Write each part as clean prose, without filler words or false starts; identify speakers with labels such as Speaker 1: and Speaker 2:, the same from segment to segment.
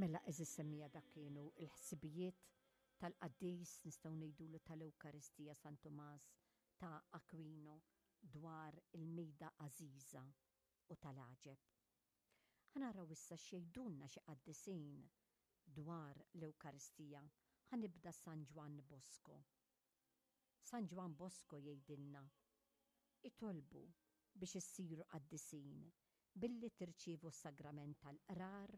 Speaker 1: Mela għeżież semmiegħa dak kienu l-ħsibijiet tal-qaddis nistgħu ngħidulu tal-Ewkaristija San Tumas ta' Aquino dwar il-mejda għażiża u tal-għaġeb. Ħa naraw issa x'jgħidulna xi qaddisin dwar l-Ewkaristija. Ħa nibda San Ġwann Bosco. San Ġwann Bosco jgħidilna, Itolbu biex issiru qaddisin billi tirċievu s-sagrament tal-qrar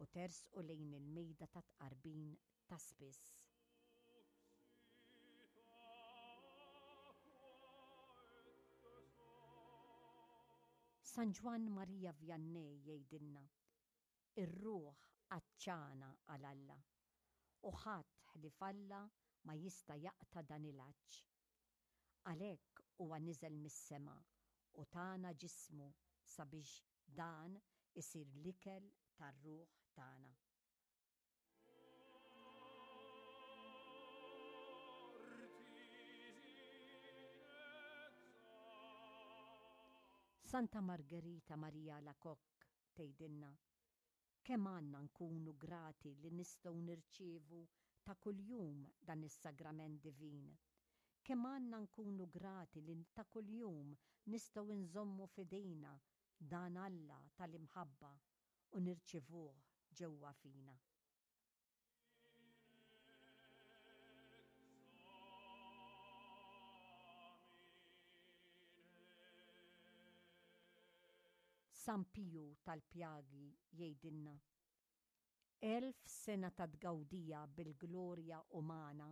Speaker 1: u tersqu lejn il-mejda tat-tqarbin ta' spiss. San Ġwann Marija Vianney jgħidilna, Ir-ruħ għatxana għal Alla, u ħadd ħlief Alla ma jista' jaqta' dan il-għatx. Għalhekk huwa niżel mis-sema u tana ġismu sabiex dan isir l-ikel tar-ruħ tagħna. Santa Margherita Maria Alacoque tgħidilna, Kemm għandna nkunu grati li nistgħu nirċievu ta' kuljum dan is-sagrament divin! Kemm għandna nkunu grati li ta' kuljum nistgħu nżommu f'idejna dan Alla tal-imħabba u nirċievuh ġewwa fina! San Piju tal-Pjagi jgħidilna, 1000 sena ta' tgawdija bil-glorja umana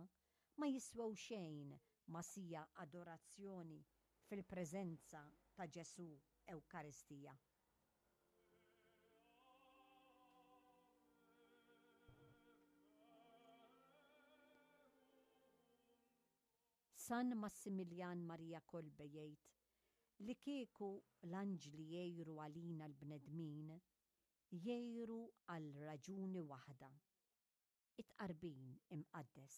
Speaker 1: ma jiswew xejn ma' siegħa adorazzjoni fil-preżenza ta' Ġesù Ewkaristija. San Massimiljan Maria Kolbe jgħid li kieku l-anġli jgħiru għalina l-bnedmin, jgħiru għal raġuni waħda, it-tqarbin imqaddes.